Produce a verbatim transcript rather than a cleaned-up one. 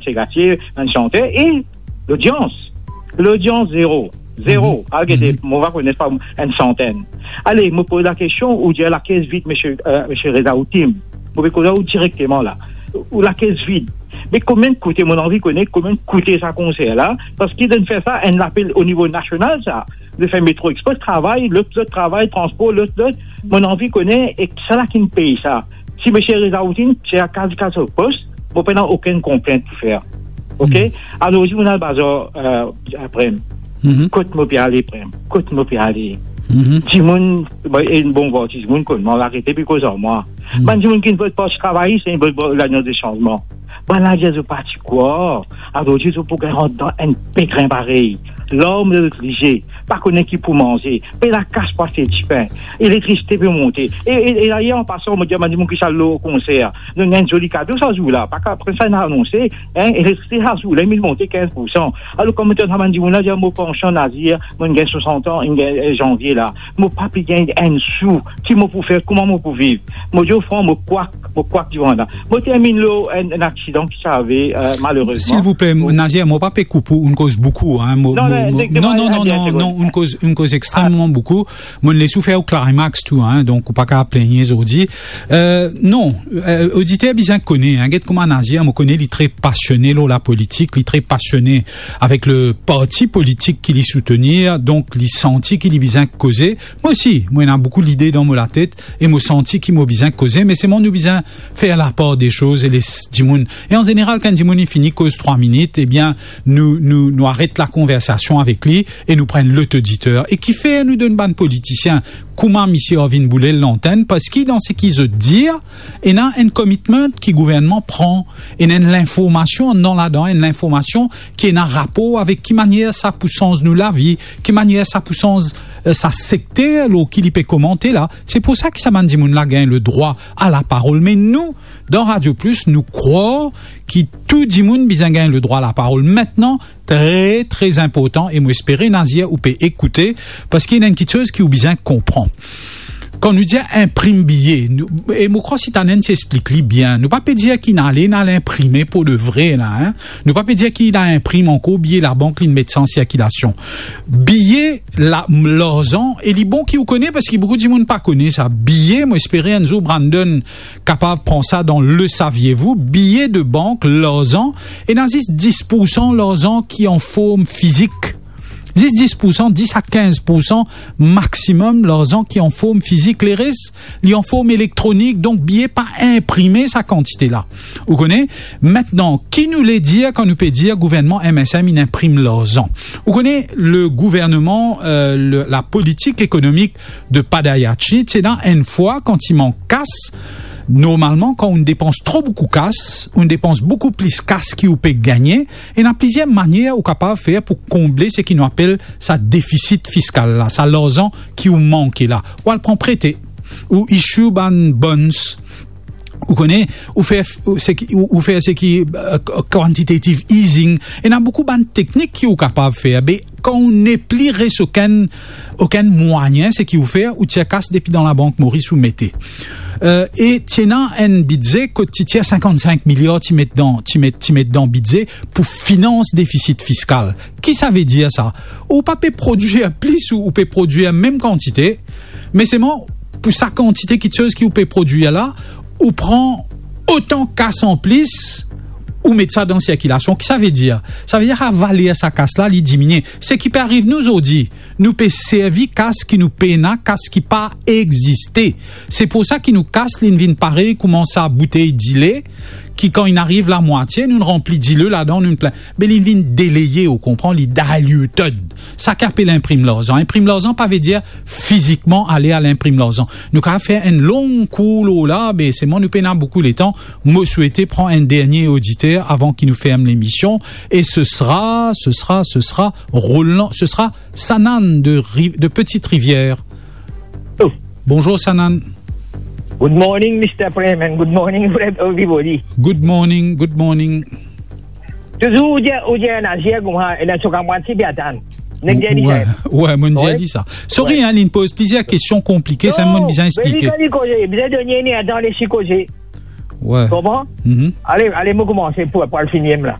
segatier, bann santer, e lodians. Lodians, zero. Zero. Mhm. Al gete, mhm, mo pa kone pa enn santenn. Ale, mo poz lakestion, ou dir lakes vid, misie, euh, misie Reza Outim. Mo pe koz ar ou direkteman la. Ou lakes vid. Me konbien koute, mo anvi kone konbien koute sa konser la, parski zot fer sa, enn lapel o nivo nasional sa. Zot fer Metro Express travay, lot, lot travay, transpor, lot, lot. Mo anvi kone, e kisala ki'nn pey sa? Si misie Reza Outim, se a kaz, kaz so pos, mo pena okenn konplint pou fer. Ok? Mhm. Alor, si mo al bazar, euh, apre, mhm, kot mo pe ale, pre? Kot mo pe ale? Mhm. Dimoun, bon, e bon, bon, dimoun konn mwa, arete pe koz ar mwa. Mhm. Bann dimoun ki vot Parti Travayis, inn vot Lalians de Sanzman. Bann la dir zot pa ti krwar. Azordi, zot pou gagn rant dan enn petrin parey. Larm dan zot lizie, pa kone ki pou manze, pena kas pou aste dipin, elektrisite pe monte. E, e, e dayer, an pasan, mo dir bann dimoun ki ti al lor konser, nou gagn zoli kado sa zour la, pa ka, apre sa, inn anonse, hein, elektrisite sa zour la, inn monte kinz poursan. Alor, kouma mo tann sa bann dimoun la, dir mo pansion Nazir, mo gagn swasant an, inn gagn, eh, zanvie la, mo pa pe gagn enn sou, ki mo pou fer, kouma mo pou viv? Mo dir ou fran, mo kwak, mo kwak divan la. Mo terminn lor enn, enn aksidan ki ti arive, euh, malerezman. Silvouple, Nazir, mo pa pe koup ou, ou'nn koz boukou, hein, mo, non, mo, non, mo, non, non, non, non, non, non, ou'nn koz, ou'nn koz extrememan boukou. Mo'nn les ou fer ou climax tou, hein, donk ou pa kapav pligne zordi. Euh, non, euh, oditer bizin kone, hein, get kouma Nazir, mo kone li tre pasione lor lapolitik, li tre pasione avek le parti politik ki li soutenir, donk li santi ki li bizin koze. Mwa osi, mo ena boukou lide dan mo latet e mo santi ki mo bizin koze, me selman nou bizin fer lapar de soz e les dimoun. E an zeneral, kan dimoun inn fini koz trwa minit, ebien, nou, nou, nou aret lakonversasion avek li e nou pran lot oditer. E kifer nou donn bann politisien kouma misie Arvin Boulel lantenn? Parski dan seki zot dir, ena enn commitment ki gouvernman pran, ena enn linformasion anndan ladan, enn linformasion ki ena rapor avek ki manier sa pou sanz nou lavi, ki manier sa pou sanz, eh, sa sekter lor ki li pe komante la. Se pou sa ki sa bann dimoun la gagn ledrwa a laparol. Me nou, dan Radio Plus, nou krwar ki tou dimoun bizin gagn ledrwa a laparol. Mintnan, tre, tre inportan, e mo espere, Nazir, ou pe ekoute, parski ena enn kiksoz ki ou bizin konpran. Kan nou dir inprim biye, nou, e mo krwar Sitanen ti explik li bien, nou pa pe dir ki inn ale, inn al inprime pou de vre la, hein. Nou pa pe dir ki inn al inprim ankor biye labank, li'nn met sa an sirkilasion. Biye la, larzan, e li bon ki ou kone, parski boukou dimoun pa kone sa. Biye, mo espere enn zour Brandon kapav pran sa dan Le Saviez-vous, biye de bank, larzan, ena zis dis poursan larzan ki an form fizik. Zis dis poursan, dis a kinz poursan maximum larzan ki an form fizik. Leres, li an form elektronik, donk biye pa inprime sa kantite la. Ou kone? Mintnan, ki nou le dir kan nou pe dir gouvernman M S M inn inprim larzan? Ou kone, le gouvernman, euh, le, lapolitik ekonomik de Paddayachee, ti ena enn fwa kan ti mank kas, normalman, kan ou depans tro boukou kas, ou depans boukou plis kas ki ou pe gagne, ena plizier manier ou kapav fer pou konble seki nou apel sa defisit fiskal la, sa larzan ki ou manke la. Ou al pran prete, ou issue bann bonds, ou kone, ou fer, ou, seki, ou, ou fer seki, euh, quantitative easing. Ena boukou bann teknik ki ou kapav fer. Be, kan ou nepli res okenn, okenn mwayin, seki ou fer, ou tir kas depi dan labank Moris ou mete. Euh, e ti ena enn bidze kot ti tir sinkant-sink miliar ti met dan, ti met, ti met dan bidze pou finans defisit fiskal. Ki sa ve dir sa? Ou pa pe prodwir plis, ou, ou pe prodwir mem kantite, me selman pou sa kantite kiksoz ki ou pe prodwir la, ou pran otan kas an plis, ou met sa dan sirkilasion. Ki sa ve dir? Sa ve dir sa valer sa kas la, li diminie. Seki pe ariv nou zordi, nou pe servi kas ki nou pena, kas ki pa existe. Se pou sa ki nou kas, li'nn vinn parey kouma sa boutey dile, ki kan inn ariv lamwatie, nou'nn ranpli dile ladan, nou'nn plin. Be li'nn vinn deleye, ou konpran, li diluted. Sa ki apel inprim larzan. Inprim larzan pa ve dir fizikman ale al inprim larzan. Nou kapav fer enn long kour lor la, be selman nou pena boukou letan. Mo swete pran enn dernie oditer avan ki nou ferm lemision. E ce sera, ce sera, ce sera Roland, ce sera Sanan de Ri-, de Petite Rivière. Oh. Bonjour, Sanan. Good morning, Mister Prem, and good morning, everybody. Good morning, good morning. Touzour ou dir, ou dir Nazir kouma, ena so kamwad ti pe atann. Nek dir li, ouais, mo'nn dir li sa. Sorry, hein, li'nn poz plizier kestion konplike, sa mo'nn bizin explike. Non, me li, li koze, bizin donn li enn tan, les li koze. Ouais. Konpran? Mhm. Ale, ale, mo koumanse pou, pou al fini la.